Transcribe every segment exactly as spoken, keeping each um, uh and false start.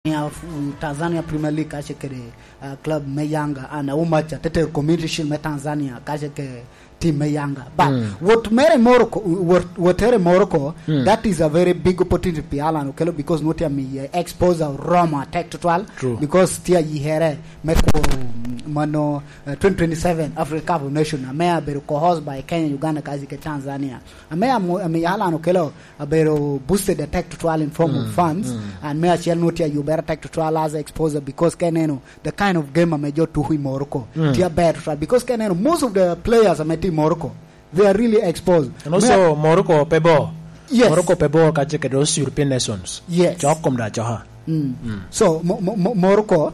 Tanzania, Tanzania Premier League kace kede, uh, club me Yanga, and Aumacha te tero Community Shield me Tanzania kace ke team me Yanga. But wot mere Morocco, wot, wot tere Morocco, that is a very big opportunity pi Alan Okello because nwoŋo tye amiye exposure oromo atek tutwal. True. Because tye ayikere me kuro, mm, mano, uh, twenty twenty-seven Africa Cup of Nation, ame abedo co-host by Kenya, Uganda, kace ke Tanzania. Ame amo-, ame Alan Okello abedo boosted atek tutwal in form of funds, and me acel nwoŋo tye ayubere atek tutwal as a exposure because ka ineno the kind of game ame jo tuko i Morocco, tye aber tutwal because ka ineno most of the players ame tye i Morocco, they are really exposed. And also, Morocco pe bor. Yes. Morocco pe bor kace kede those European nations. Yes. Cok kom da coka. So, mo-, mo-, mo-, Morocco,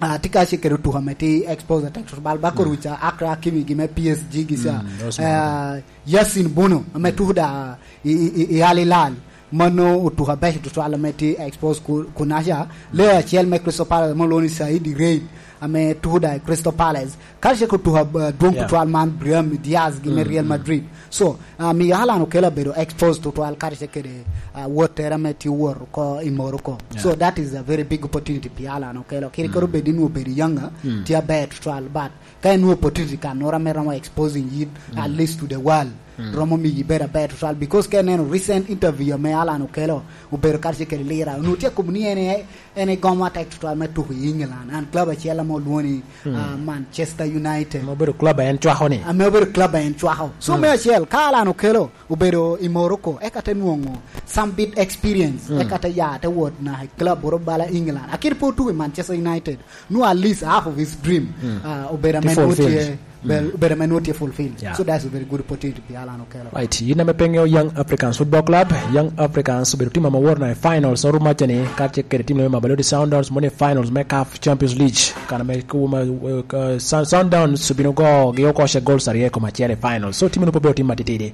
ah, tye kace kede otuko ame tye exposed atek tutwal, ba kor wica Achraf Hakimi gi me P S G gi ca, ah, Yassine Bounou ame tuko da i, i, i, i Al Hilal. Mano otuko abeco tutwal ame tye exposed ku-, kunaca. Player acel me Crystal Palace ame olwoŋo ni Said Reid ame tuko da i Crystal Palace. Kace ko tuko, ah, dwoŋ tutwal man Brahim Diaz gi me Real Madrid. So, ah, miyo Alan Okello obedo exposed tutwal kace kede, ah, wottere ame tye wot oko i Morocco. So that is a very big opportunity pi Alan Okello. Kadi kede obed ni nwoŋo obedo younger, tye aber tutwal, but ka en nwoŋo opportunity kanoro ame romo exposing yin at least to the world, romo miyo ibed aber tutwal. Because ka ineno recent interview ame Alan Okello obedo kace kede Lira, onwoŋo tye akobo ni en e, en egomo atek tutwal me tuko i England. And club acel ame olwoŋo ni, ah, Manchester United. Ame obedo club a en cwako ni. Ame obedo club a en cwako. So me acel, ka Alan Okello obedo i Morocco, eka te nwoŋo some bit experience, eka te ya, te wot naka i club oro bala England. Akit pe otuko i Manchester United, nwoŋo at least half of his dream, ah, obedo ame nwoŋo tye, bel-, obedo ame nwoŋo tye fulfilled. So that's a very good opportunity pi Alan Okello. Right, yin ame pe ŋeo Young Africans Football Club, Young Africans obedo team ame owoto naka i finals orumaca ni, kace kede team me Mamelodi Sundowns, mono i finals me CAF Champions League, kan ame kuma, eh, Sun-, Sundowns obino go gi oko ce goals aryo i kom acel i finals. So team-nu pe obedo team matitidi.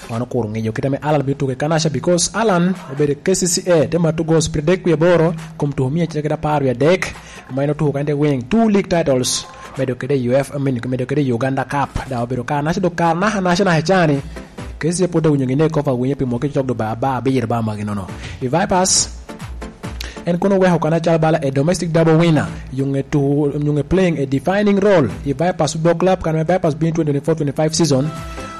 Wan okuro ŋeyo kit ame Alan bino tuko i kanaca, because Alan obedo i K C C A, te mato goals pyeradek wie aboro, kom tuko mia acel kede apar wie adek, ma en otuko kende wing two league titles, medo kede U F, I mean, medo kede Uganda Cup, da obedo kanaca, dok kare naka naca naka i cani, K C C A pwod awinyo gine kofa awinyo pi mwaki cok do ba, ba abiro ba magi nono. I Vipers, en kono oweko kan acalo bala a domestic double winner, yung e tu-, yung e playing a defining role i Vipers Football Club, kan me Vipers bino twenty twenty-four twenty-five season,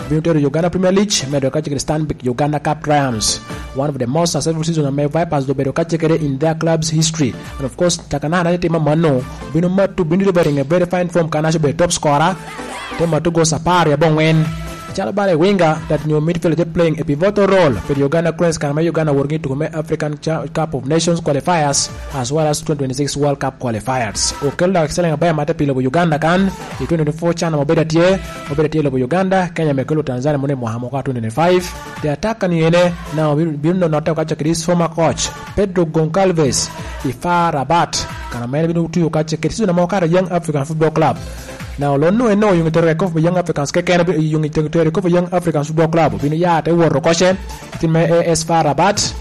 bino tero Uganda Premier League, medo kace kede Stanbic Uganda Cup triumphs. One of the most successful season ame Vipers obedo kace kede in their club's history. And of course, taka naka ni timo mano, bino matu, bino bedo in a very fine form, kan aco bedo top scorer, te matu goals apar i abongwen. Calo bala i winga, that nyo midfielder te playing a pivotal role pi Uganda Cranes, kan me Uganda wor gi tuko me African Cha-, Cup of Nations qualifiers, as well as twenty twenty-six World Cup qualifiers. Okello dak siling aber mate pi lobo Uganda kan, i twenty twenty-four CHAN ame obedo atye, obedo atye i lobo Uganda, Kenya me kelo Tanzania mono i mwaka moka twenty twenty-five. The attack kan yene, na obin-, bino note okaco kede his former coach, Pedro Goncalves, i F A R Rabat, kan ame bino tuyo okaco kede season ame okato Young African Football Club. Na olonno eno, yung itero kop Young Africans keken, yung itero kop Young Africans Football Club, bino ya te wot oko ce, team me A S F A R Rabat.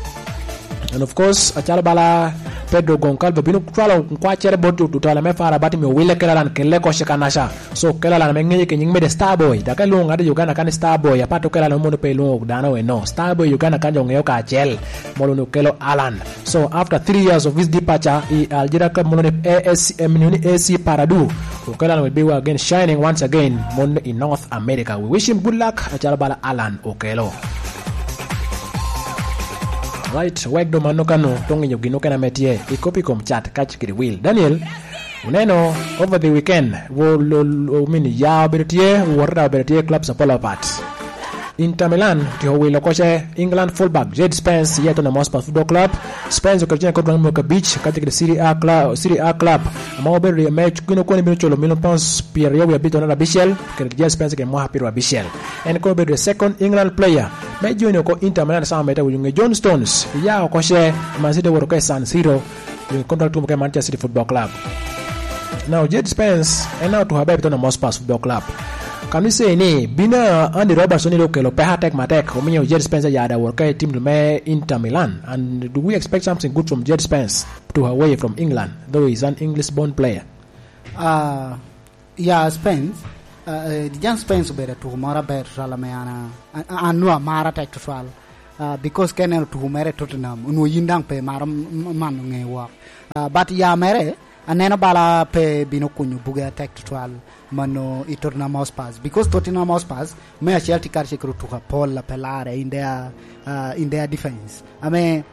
And of course, acalo bala Pedro Goncalves bino cwalo kwacere bot otutala me F A R Rabat, mi owile kela lan kelle oko ce kanaca. So, kela lan me ŋeye ke nying mede Starboy, dok elwongo ŋat i Uganda kan ni Starboy, apat okela lan mono pe elwongo dano eno. Starboy Uganda kan jo ŋeo kacel, molo ni okelo Alan. So, after three years of his departure i Algeria club molo ni A S C, eh, ni A C Paradou, Okello Alan will be again shining once again mon i North America. We wish him good luck, acalo bala Alan Okello. Right, wek do mano kano, tong inyo gino kena me tye, i kopi kom chat kac kede wil. Daniel, uneno, over the weekend, wo lo, lo, mini ya obedo tye, wota obedo tye, club Sapolo Apat. Inter Milan otyeko wilo oko ce England fullback Jed Spence i Tottenham Hotspur Football Club. Spence oketo cene kop dwaŋ mwaka abic, kacel kede Serie A cla-, Serie A club, ame obedo ri-, me gin okone bino culo milion pounds pyeraryo wie abic onongo abicel, kede Jed Spence kede mwaka pyeraryo abicel. En kono obedo the second England player me join oko Inter Milan sama mete awinyo ŋe John Stones, iya oko ce, Man City owoto oko i San Siro, i contract tumo ke Manchester City Football Club. Now, Jed Spence, en na otuko aber i Tottenham Hotspur Football Club. Kan ise ni, bino Andy Robertson ni okelo peko atek matek, omiyo Jed Spence ya da wot ka i team me Inter Milan. And do we expect something good from Jed Spence to away from England, though he's an English-born player? Ah, ya, Spence, ah, eh, Jed Spence obedo atuko moro aber tutwal ame an a-, a-, an nwa amaro atek tutwal. Ah, because ka ineno tuku mere i Tottenham, onwoŋo yin daŋ pe imaro m-, m-, mano ŋe wok. Ah, but ya mere, aneno bala pe bino kunyo buge atek tutwal mano i Tottenham Hotspurs. Because Tottenham Hotspurs, me acel tye karacel kede otuko apol a pe larre in their, ah, in their defense. Ame,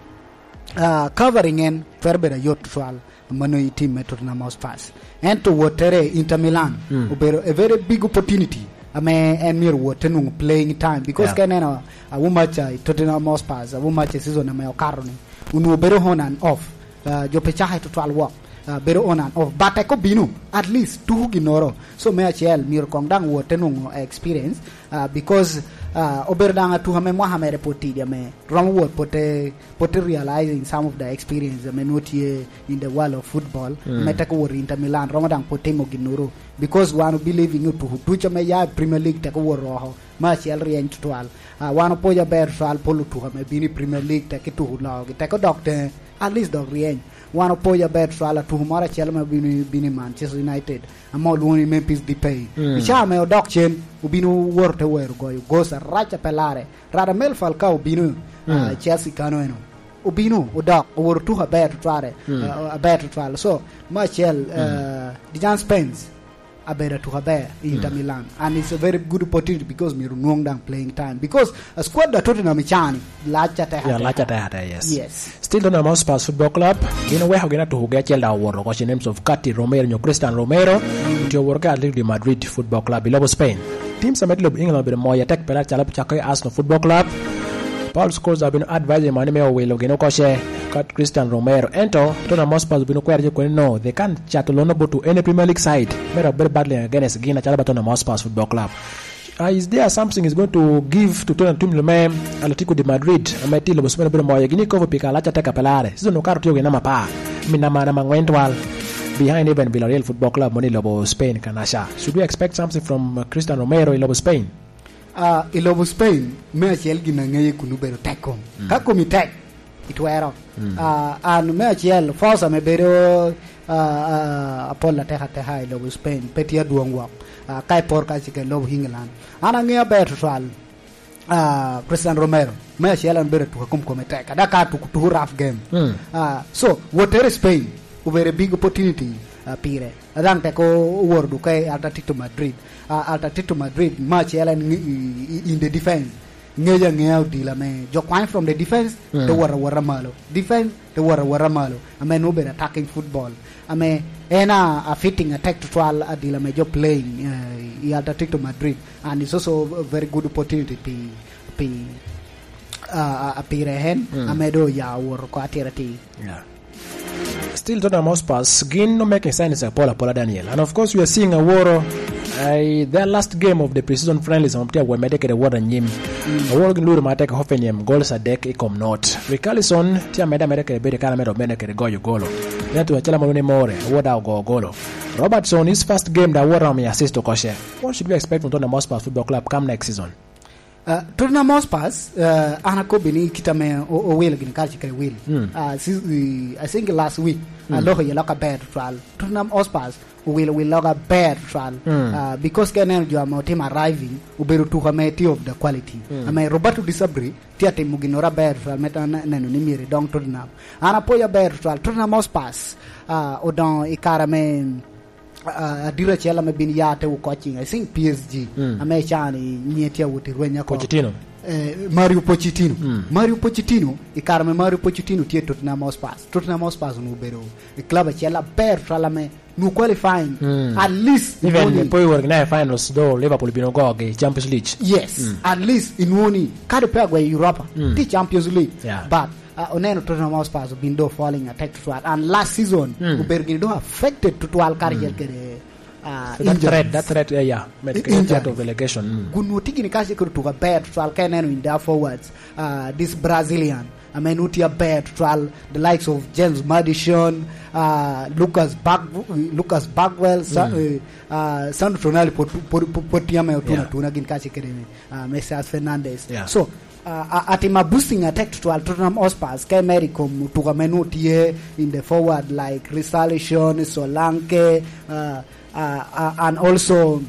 ah, covering en twero bedo ayot tutwal. Mano i tim me Tottenham Hotspurs. Ento wottere i Inter Milan obedo a very big opportunity ame en myero wot te nwoŋo playing time, because ka ineno, uh, awumaca i Tottenham Hotspurs, awumaca i season ame okato ni, onwoŋo bedo on and off. Uh, jo pe cake tutwal wok, uh, bedo on and off. But eko bino, at least, tuku ginnoro. So, me acel, myero koŋ daŋ wot te nwoŋo experience, uh, because, uh, obedo daŋ atuka me mwaka mere pwod tidi ame romo wot pwod te, pwod te realizing some of the experience ame nwoŋo tye in the world of football, ame teko wot i Inter Milan, romo daŋ pwod timo ginnoro. Because wan obelieving ni otuku ducu ame ya i Premier League teko wot oko, me acel ryeny tutwal. Ah, wan opojo aber tutwal pol otuku ame bino i Premier League, teko ituku logi, teko dok teŋe, at least dok ryeny. Wan opojo aber tutwal atuku moro acel ame bino, bino i Manchester United, ame olwoŋo ni Memphis Depay. I caa ame odok cen, obino woto te wero goyo goal arac a pe larre. Radamel Falcao obino, ah, Chelsea kano eno. Obino, odok, owoto otuko aber tutwale, ah, aber tutwal. So, me acel, ah, Dejan Spence abedo atuko aber i Inter Milan. And it's a very good opportunity because myero onwoŋ daŋ playing time. Because a squad a Tottenham i caa ni, lac atek. Yeah, lac atek atek, yes. Yes. Still Tottenham Hotspur Football Club, gin oweko gin atukogi acel daŋ owoto oko, in names of Cuti Romero nyo Christian Romero, otye owoto ki Atletico de Madrid Football Club i lobo Spain. Teams ame tye i lobo England obedo moyo atek pela calo cako i Arsenal Football Club. Paul Scholes obino advising mani me owilo gin oko ce, kat Christian Romero. Ento, Tottenham Hotspur obino kwero jo koni no, they can't cato loan about to any Premier League side. Mera bedo battling against gin acalo ba Tottenham Hotspur Football Club. Uh, is there something is going to give to Tottenham team me Atletico de Madrid, ame tye i lobo Spain obedo moyo gini kopo pi kalac atek a pelare? Season okato tye ogin nama par, mi nama, nama angwen twal, behind even Villarreal Football Club moni i lobo Spain kanaca. Should we expect something from, uh, Christian Romero i lobo Spain? Ah, i lobo Spain, me acel gin a ŋeye kun obedo tek kom. Mm. Ka komi tek, itwero. Mm. Ah, an me acel, force ame bedo, ah, ah, apol atek ateka i lobo Spain, pe tye adwoŋ wok. Ah, ka ipor ka cika i lobo England. An aŋeo aber tutwal, ah, Christian Romero, me acel en bedo atuka kom kome tek. Ada ka tuku, tuku rough game. Mm. Ah, so, wottere i Spain, obedo a big opportunity, ah, pire. Daŋ tek o-, owoto dok i Atletico Madrid. Ah, Atletico Madrid, me acel en ŋe-, i, i, in the defense. Ŋeyo aŋeya odilo ame jo kwany from the defense, mm, te wot awota malo. Defense, te wot awota malo. Ame nwoŋo obedo attacking football. Ame en a, a fitting atek tutwal adilo ame jo playing, eh, i Atletico Madrid. And it's also a very good opportunity pi, pi, ah, ah, pire en, mm, ame do oya owoto oko atira atir. Yeah. Still Tottenham Hotspurs, gin no making signs apol apola, Daniel. And of course, we are seeing Aworo, uh, their last game of the preseason friendlies, um, tye awor mede kede wot anyim. Mm. Aworo gin luro ma tek Hoffenheim, goals adek i kom not. Richarlison tye amede amede kede bedo i kare me dok mede kede goyo golo. Ento acel amalo ni more, Aworo da ogo golo. Robertson, his first game, da Aworo omiyo assist oko ce. What should we expect from Tottenham Hotspur Football Club come next season? Uh, Tottenham Hotspurs, uh, an akobbi ni kit ame o-, owilo gini kare kede wil. Mm. Uh, si-, i, I think last week, uh, mm, loko iye lok aber tutwal. Tottenham Hotspurs owilo wil lok aber tutwal. Mm. Uh, because ka ineno jo ame otimo arriving, obedo tuko ame tye of the quality. Mm. Ame Roberto De Zerbi tye atimo ginnoro aber tutwal, me ta-, ne-, neno ni myero idong Tottenham. An apwoyo aber tutwal. Tottenham Hotspurs, uh, odongo i kare ame a-, a-, adit acel ame bin ya te wo coaching, I think P S G, mm, ame i caa ni nyiŋe tye awot i rweny oko. Pochettino. Eh, Mario Pochettino. Mm. Mario Pochettino, i kare ame Mario Pochettino tye i Tottenham Hotspurs. Tottenham Hotspurs onwoŋo obedo i club acel aber tutwal ame nwoŋo qualifying. Mm. At least, even inwoŋo ni pe iwor gin i finals, though Liverpool bino gogi Champions League. Yes, mm, at least inwoŋo ni kadi pe agweyo Europa, mm, tye Champions League. Yeah. But Ah, oneno Tottenham Hotspur obin do falling atek tutwal. And last season, mm, obedo gini do affected tutwal karacel, mm, kede, ah, so that injuries. Threat, that threat, yeah, yeah. Med-, kede injuries. Threat of relegation. Mm. Gun woti gini kacel kede tuko aber tutwal ka ineno in their forwards, ah, this Brazilian. I mean, woti aber tutwal, the likes of James Maddison, ah, Lucas Bag-, Lucas Bagwell, Sa-, mm, eh, ah, Sandro Tonali pwod, pwod, pwod, pwod tye ame otuno, yeah, atuna gin kacel kede, ah, Mesias Fernandes. Yeah. So, Uh, a-, atimo boosting atek tutwal Tottenham Hotspurs, ka imero i kom otuka ame nwoŋo tye in the forward like Richarlison, Solanke, uh, uh, uh, and also.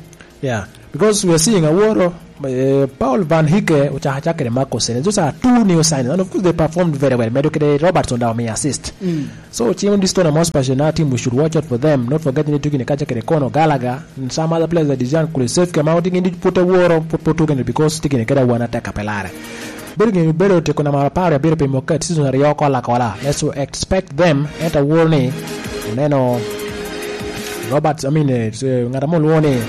Yeah, because we are seeing Aworo, Eh, Paul Van Hike ocako acak kede Marco Senesi. Those are two new signings. And of course, they performed very well. Medo kede Robertson daŋ omiyo assist. Mm. So, cimo this Tottenham Hotspur, another team we should watch out for them. Not forgetting ni tugi ni kaca kede Conor Gallagher and some other players like Dejan Kulusevski, ma otugi ni put aworo, put, put tugi ni because tugi ni kede awana tek a pe lare. Bedo gini bedo tiko namba apar abiro pi moket season aryo kola kola. Let's expect them. Ento aworo ni oneno Robert, I mean, eh, eh, ŋat amo lwongo ni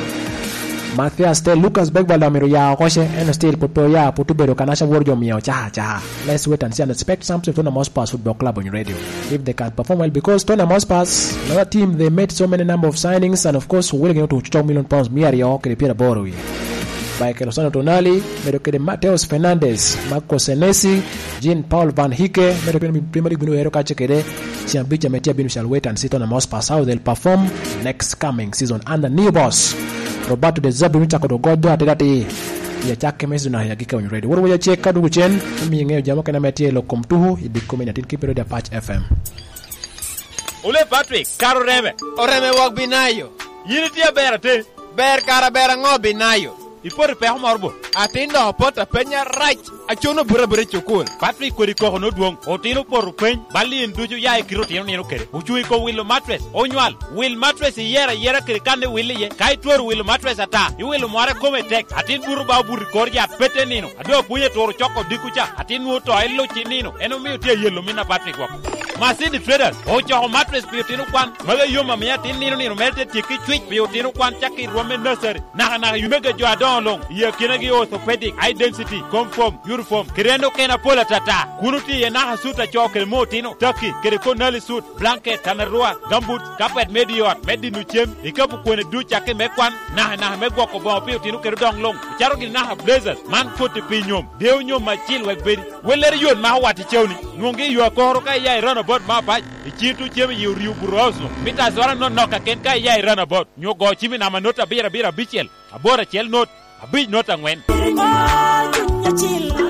Mathias Tel, Lucas Bergvall daŋ myero oya oko ce, en still pwod pe oya, pwod obedo ka naca woro jo mia ocaha acaha. Let's wait and see and expect something from Tottenham Hotspur Football Club on radio. If they can perform well, because Tottenham Hotspur, another team, they made so many number of signings, and of course, wele gin otuŋo cok million pounds mia aryo kede pyeraboro wie. Michael Osano Tonali, medo kede Mateus Fernandes, Marco Senesi, Jean Paul Van Hike, medo kede Premier League bino ero kace kede Ciabica me tye abino shall wait and see Tottenham Hotspur how they'll perform next coming season under new boss. Roberto De Zerbi bino cako dogo jo ateda atir. Ya cak keme season ya gike on ready. Woro waya check ka dugu cen, mi ng'eyo jamo kena me tye lo kom tuhu, i dik kome na tin kipiro da Patch F M. Ole Patrick, karo reme. Oreme wok binayo. Yin itye aber ate. Ber kara ber aŋo binayo? Ipoto i peko moro bo? Atin dok apoto apenya rac. Acono buto abuta i cukul. Patrick kodi koko nodwoŋ. Otino opoto peny. Bal in ducu ya i kite otino nino kede. Ocuŋ i kom wilo matres. Onywal. Wil matres iyero ayera kede kan iwil iye. Ka itwero wilo matres ata, iwilo mware kome tek. Atin buto ba obuto i kor yat pete nino. Ado apwony eturo coko dikku ca. Atin nwoŋo to iluc i nino. En omio tye ayelo min a Patrick woko. Masini Traders ocoko matres pi otino kwan. Magi yom amiyo atin nino nino mere te tyekki cwic pi otino kwan cakki i rwom me nursery. Naka naka yumega jo adoŋo luŋ, i akinagi orthopedic, eye density, confirm, uniform, kede en okene apol atata. Kun otye iye naka sut acoo kede mo otino, taki, kede konali sut, blanket, tanarua, gambut, kapet me di ot, me dino cem, ikapu kwene duc cakki me kwan, naka naka me gwoko boŋo pi otino kede odoŋ luŋ. Icaro gini naka blazers, man koti pi nyom, deo nyom acil wek bedi. Wellere yot mako wat i cewni, nwoŋgi i yo akoro ka iya i roundabout me apac, i cin tuŋ cem i yi oryo buto house-nu, mita azwara nonok kaken ka iya i roundabout. Nyo go cim i namba not abiro abiro abicel, aboro acel not, abic not aŋwen.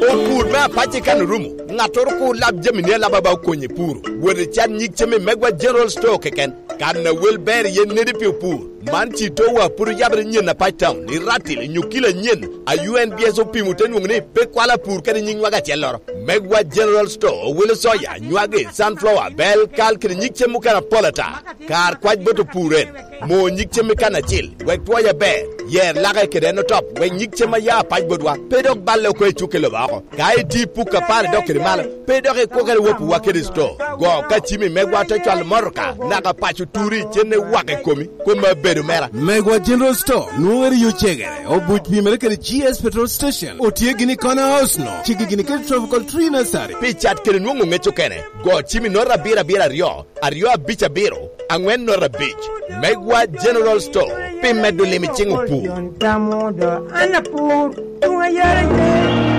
Opur me apac i kan orumo, ŋattoro kur lab jami ni alaba ba okonye puro. Wot i can nyig cem i Megwa General Store keken, kan a wel ber iye nedi pi opur. Man ci towa puro yabere nyen apac town, i Ratil, nyo kilo anyen, a U N B S opimo te nwoŋo ni pe kwalo apur kede nyig nywag acelloro. Megwa General Store owilo soya, nywagi, sunflower, bel, kal kede nyig cem mukene apol ata. Kar kwac bot opur en, mo nyig cem i kan acil, wek twoye aber, yer lake kede en otop, wek nyig cem a ya apac botwa, pe dok balle oko i cuk i lobo oko. Ka iti puk apar idok kede malo, pe dok ikwokere wopiwa kede sto. Go ka cimi megwa te cwalo motoka, naka paco turi, cenne wak i komi, kome abedo mera. Megwa General Store, nwoŋere yo cegere, obuc pimere kede G S Petrol Station, otye gini i Corner House no, cigi gini kede Tropical Tree Nursery. Pi cat kede nwoŋo ŋec okene, go cimi nota abiro abiro aryo, aryo abic abiro, aŋwen nota abic. Megwa General Store, pi medo lim i cing opur. An apur, tuŋ ayara ye.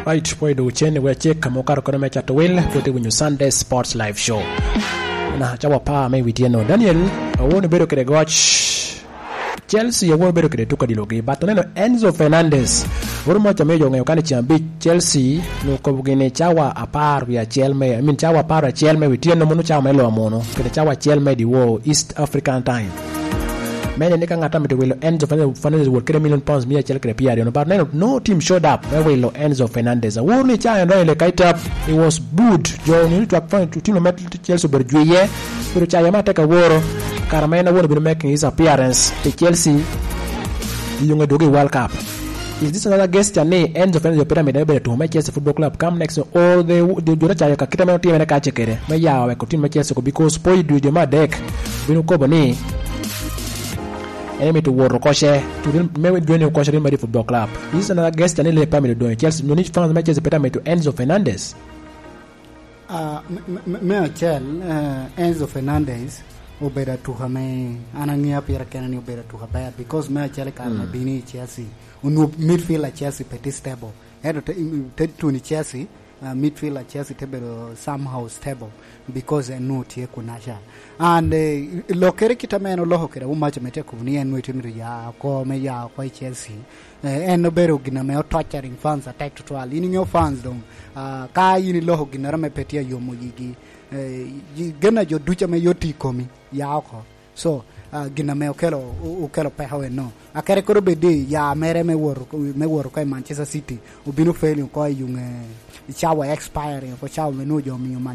Right, pwod doŋ cen, we acek ka ma okato kono me cato wil, pwod iwinyo Sunday Sports Live Show. Na, cawa pa me wi tyeno. Daniel, awono bedo kede goc. Chelsea awono bedo kede tuko adilogi, but oneno Enzo Fernandez. Oro mo ca miyo jo ŋeyo kani ceng abic, Chelsea nwoŋo kobo gini cawa apar wie acel me, I mean, cawa apar acel me wi tyeno, mono cawa me loa mono, kede cawa acel me diwo East African Time. Me nene ka ŋat a mito wilo Enzo Fernandez, Fernandez wot kede million pounds mia acel kede pyeraryo, but neno, no team showed up me wilo Enzo Fernandez. Awor ni ca en donyo i leka i tap, he was booed. Jo onyo ni twak fany, team me Chelsea obedo jwiye, obedo caye ma tek aworo. Kara ma en awor obino making his appearance pi Chelsea, i yuŋe dwogo i World Cup. Is this another gesture ni Enzo Fernandez obedo amito me bedo tuŋo me Chelsea Football Club come next, or the, the, jo te cayo ka kite ame otimere kace kede, me ya weko team me Chelsea ko, because po i dwe, dwe me adek, bino kobo ni en emito wot oko ce, to Real, me dwe ni oko ce Real Madrid Football Club. Is this another gesture ni Liverpool amito doŋ i Chelsea, nyo ni fans me Chelsea pe amito Enzo Fernandez? Ah, me, me, me, me acel, eh, Enzo Fernandez obedo atuka me, an aŋea pire kene ni obedo atuka ber, because me acel i kare me bino i Chelsea, onwoŋo midfield a Chelsea pe tye stable. Ento te, te tuno i Chelsea, ah, midfield a Chelsea te bedo somehow stable because en nwoŋo tye kunaca. And, eh, lokkere kit ame en oloko kede Umacha me tye akobo ni en nwoŋo itye mito ya oko, me ya oko i Chelsea. Eh, en obedo gin ame otorturing fans atek tutwal. In iŋeo fans doŋ, ah, ka in iloko ginnoro ame pe tye ayomo yigi, eh, i-, gen a jo ducu ame yot tye i komi, ya oko. So, uh, gin ame okelo, o- okelo peko eno. Akere koro bedi ya mere me woro, me woro ko i Manchester City. Obino failing ko i yung, eh, i cawa expiring, ko cawa me nwoŋo jo omiyo